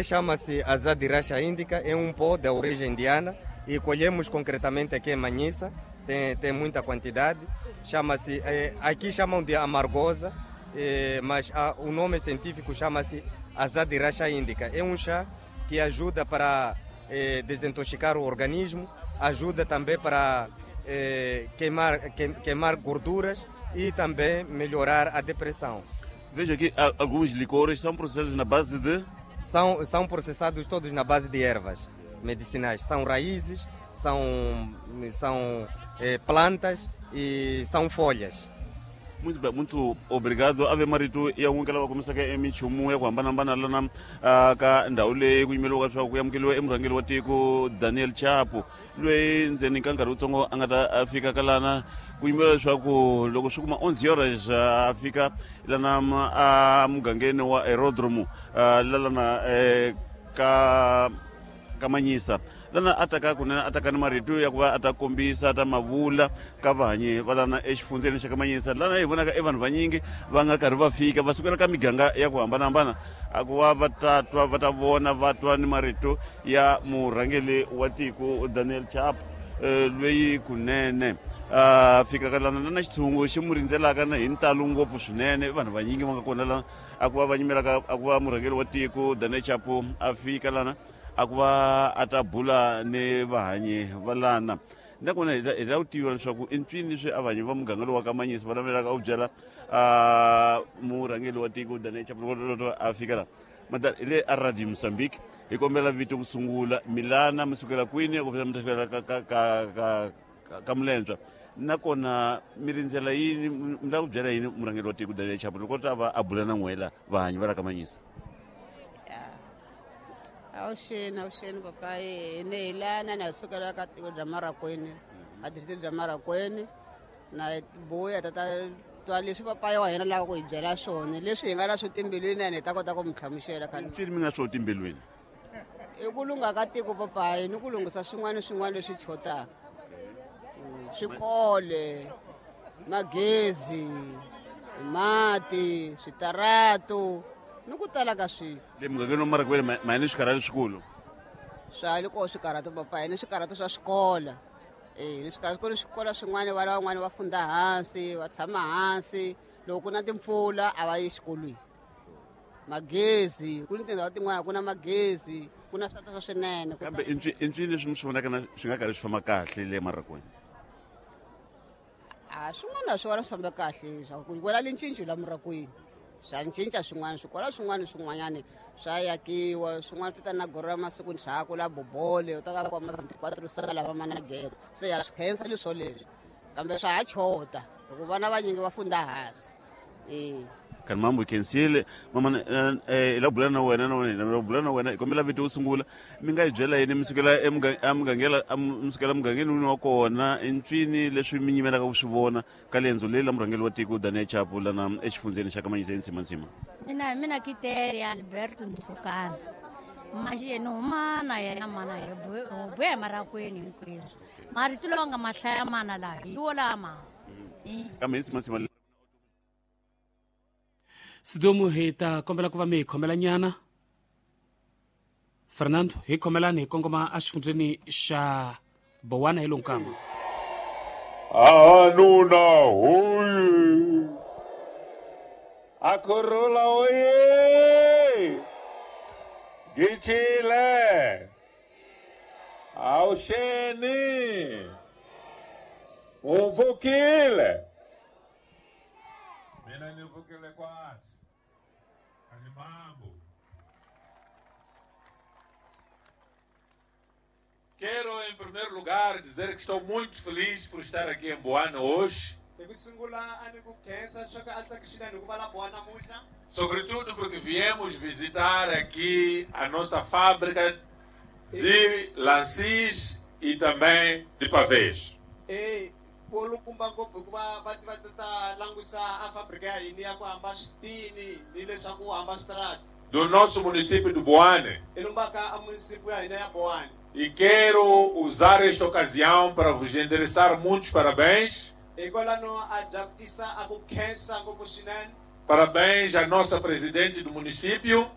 Chama-se Azadirachta indica, é um pó da origem indiana e colhemos concretamente aqui em Manhiça, tem muita quantidade. Chama-se, aqui chamam de amargosa, mas o nome científico chama-se Azadirachta indica. É um chá que ajuda para desintoxicar o organismo, ajuda também para queimar gorduras e também melhorar a depressão. Veja aqui, alguns licores são processados na base de... São processados todos na base de ervas medicinais. São raízes, são plantas e são folhas. Muito bem, muito obrigado. Ave Maritu ya n'wi lava kombisaka eminchumu ya ku hambanahambana lana ka ndhawu leyi ku yimeriwaka leswaku ku amukeriwa emurhangeri wa tiko Daniel Chapo, loyi ndzeni ka nkarhi wutsongo a nga ta fika ka lana ku yimeriwa leswaku loko swi kuma 11 horas a fika lana a mugangeni wa aerodromo lalana ka Manhiça. Lana a taka kunene a taka ni marito ya ku va a ta kombisa ta mavula ka vahanyi va lana exifundzeni xa ka Manhiça. Lana hi vonaka e vanhu vanyingi va nga karhi va fika va sukela ka miganga ya ku hambanahambana a ku va va ta twa va ta vona va twa ni marito ya murhangeri wa tiko Daniel Chapo, loyi kunene a fika ka lana na xitshungu xi mu rindzelaka na hi ntalo ngopfu swinene. Vanhu vanyingi va nga kona lana a ku va va nyimelaka a ku va murhangeri wa tiko Daniel Chapo a fika lana a ku va a ta bula ni vahanyi va lana. Nakona hi ta ku tiva leswaku i mpfini leswi a vahanyi va muganga lowu wa ka Manhiça va navelaka u byela murhangeri wa tiko Daniel Chapo loko a fika laha. Madala hi le a Radio Mozambique, hi kombela vito ku sungula, milana mi sukela kwini ku fika mi ta fikela ka Mulendzwa, nakona mi rindzela yini, mi lava ku byela yini murhangeri wa tiko Daniel Chapo loko ta va a bula na n'wela vahanyi va la ka Manhiça? Awuxeni papayi, ni hi lana na hi sukela ka tiko bya Marracuene, a district bya Marracuene, na buya tata twa leswi papayi wa hina lava ku hi byela swona, leswi hi nga na swo timbilwini ene hi ta kota ku mi hlamusela khale. Mpfini mi nga swo timbilwini? I ku lungha ka tiko papayi, ni ku lunghisa swin'wana swin'wana leswi chotaka. Swikole, magezi, mati, switarato, ni ku tala ka swilo. Le mugangeni wa Marracuene ma ni swikarhati swikulu? Swa le kona swikarhati papayi, ni swikarhati swa swikolo. Ni swikarhati ku ni swikolo swin'wana vana van'wana va funda hansi, va tshama hansi, loko ku na timpfula a va yi exikolweni. Magezi, ku ni tindhawu tin'wana ku na magezi, ku na switarata swa swinene. Kambe i ncini leswi mi swi vonaka na swi nga karhi swi famba kahle le Marracuene? A swin'wana swi vona swi famba kahle, swa ku vona lincinco la Marracuene. Swa cinca swin'wana, swikolo swin'wana swin'wanyana swa yakiwa, swin'wana ti ta na goro ra masiku ndzhaku la bobole, u ta ka kuma 24 sala lava mana gede. Se ya swi khensa leswo leswi, kambe swa ha chota hikuva vana vanyingi va funda hansi. Kanti mambo hi khensile mama, hi la bula na wena na wena hi bula na wena, hi kombela vito wo sungula, mi nga hi byela yini mi sukela mi sukela mugangeni wini wa kona, i mpfini leswi mi nyimelaka ku swi vona ka lendzo leri la murhangeri wa tiko Daniel Chapo lana exifundzeni xa ka Manhiça eNtsimantsima? Mina hi mina Kiteri Alberto Ntsukana, manje ni huma na yena mana hi buya hi Marracuene hinkweswo. Marito lawa nga mahlaya mana laha hi wo lama. Kambe hi Ntsimantsima Sidumu hi ta kombela ku va mi hi khomela nyana. Fernando, hi khomelani hi kongoma exifundzeni xa Bowana hi Lunkama. Ahanuna hoye. Akurula hoye. Gichile. Awuxeni. Uvukile. Mina nivukile kwasi. Animambo. Quero, em primeiro lugar, dizer que estou muito feliz por estar aqui em Boane hoje. Sobretudo porque viemos visitar aqui a nossa fábrica de lancis e também de pavês. Do nosso município de Boane. E quero usar esta ocasião para vos endereçar muitos parabéns. Parabéns à nossa presidente do município.